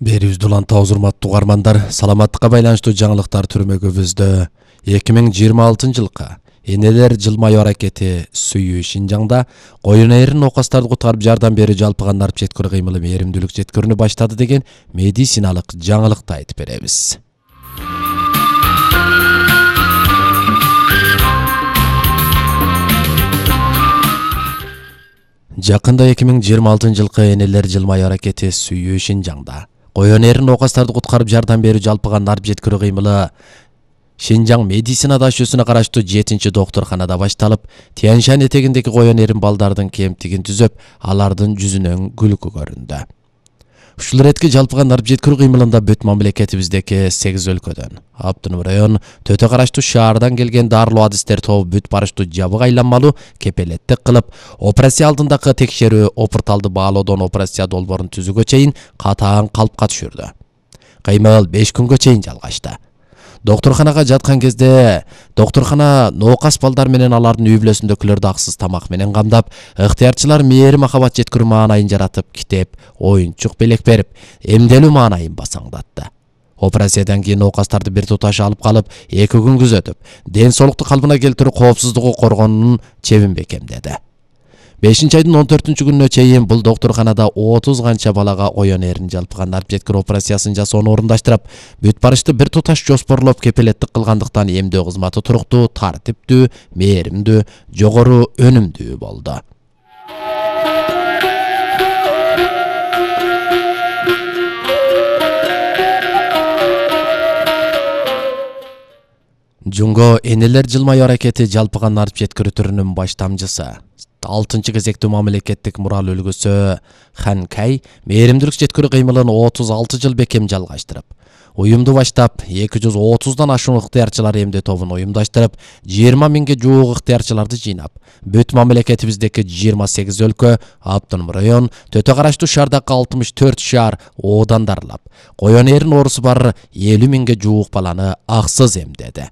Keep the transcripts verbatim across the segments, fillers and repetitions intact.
Берүүбүздү улантабыз урматтуу угармандар. Саламаттыкка байланыштуу жаңылыктар түрмөгүбүздө эки миң жыйырма алтынчы жылкы энелер жылмаюу аракети сүйүү Шинжаңда коюн эрин оокастарды куткарып жардам берүү жалпыга нарп жеткирүү кыймылы мээримдүүлүк жеткирүүнү баштады деген медициналык жаңылыкты айтып беребиз. Жакында эки миң жыйырма алтынчы жылкы энелер жылмаюу аракети сүйүү Шинжаңда коюн эрин оокастарды куткарып жардам берүү жалпыга нарп жеткирүү кыймылы Шинжаң медицина дашүүсүнө караштуу жетинчи доктурканада башталып, Тянь-Шань этегиндеги коюн эрин балдардын кемтигин түзөп, алардын жүзүнөн күлкү көрүндү. Ушул иретки жалпыга нарп жеткирүү кыймылында бүт мамлекетибиздеги сегиз өлкөдөн, Автономдук район төтө караштуу шаардан келген дарылуу адистер тобу бүт барыштуу жабык айланмалуу кепелеттик кылып, операция алдындагы текшерүү, опурталды баалоодон операция долбоорун түзүүгө чейин катаң калпка түшүрдү. Кыймыл беш күнгө чейин жалгашты. Доктурканага жаткан кезде доктуркана ноокас балдар менен алардын үй бүлөсүндөгүлөрдү аксыз тамак менен камдап, ыктыярчылар мээри махабат жеткирүү маанайын жаратып, китеп, оюнчук белек берип, эмделүү маанайын басаңдатты. Операциядан кийин ноокастарды бир туташ алып калып, эки күн күзөтүп, ден соолукту калыбына келтирүү коопсуздугу коргоонун чебин бекемдеди. бешинчи айдын он төртүнчү күнүнө чейин бул доктурканада отуз канча балага коюн эрин жалпыга нарп жеткирүү операциясын жасоону орундаштырып, бүт барышты бир туташ жоспорлоп кепелеттик кылгандыктан эмдөө кызматы туруктуу, тартиптүү, мээримдүү, жогору өнүмдүү болду. Жунго энелер жылмаюу аракети жалпыга нарп жеткирүү түрүнүн баш тамчысы, алтынчы кезектүү мамлекеттик мурал үлгүсү Хан Кай мээримдүүлүк жеткирүү кыймылын отуз алты жыл бекем жалгаштырып, уюмду баштап, эки жүз отуздан ашуун ыктыярчылар эмдөө тобун уюмдаштырып, жыйырма миңге жуук ыктыярчыларды жыйнап, бүт мамлекетибиздеги жыйырма сегиз өлкө, Автономдук район, төтө караштуу шаардагы алтымыш төрт шаар оодан дарылап, коюн эрин оорусу бар элүү миңге жуук баланы аксыз эмдеди.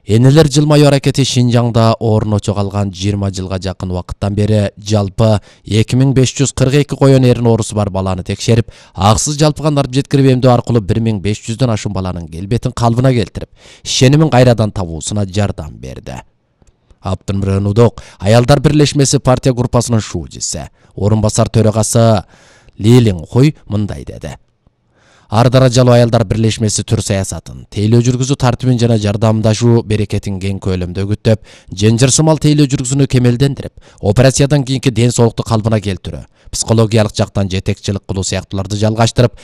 Энелер жылмаюу аракети Шинжаңда орночо калган жыйырма жылга жакын убакыттан бери жалпы эки миң беш жүз кырк эки коюн эрин оорусу бар баланы текшерип, аксыз жалпыга нарп жеткирип эмдөө аркылуу бир миң беш жүздөн ашуун баланын келбетин калыбына келтирип, ишенимин кайрадан табуусуна жардам берди. Автономдук аялдар бирлешмеси партия группасынын шуужиси, орун басар төрагасы Лилин Хой мындай деди. Ар даражалуу аялдар бирлешмеси түр саясатын, тейлөө жүргүзүү тартибин жана жардамдашуу берекетин кең көлөмдө күтөп, женжирсымал тейлөө жүргүзүүнү кемелдендирип, операциядан кийинки ден соолукту калыбына келтирүү, психологиялык жактан жетекчилик кылуу сыяктууларды жалгаштырып,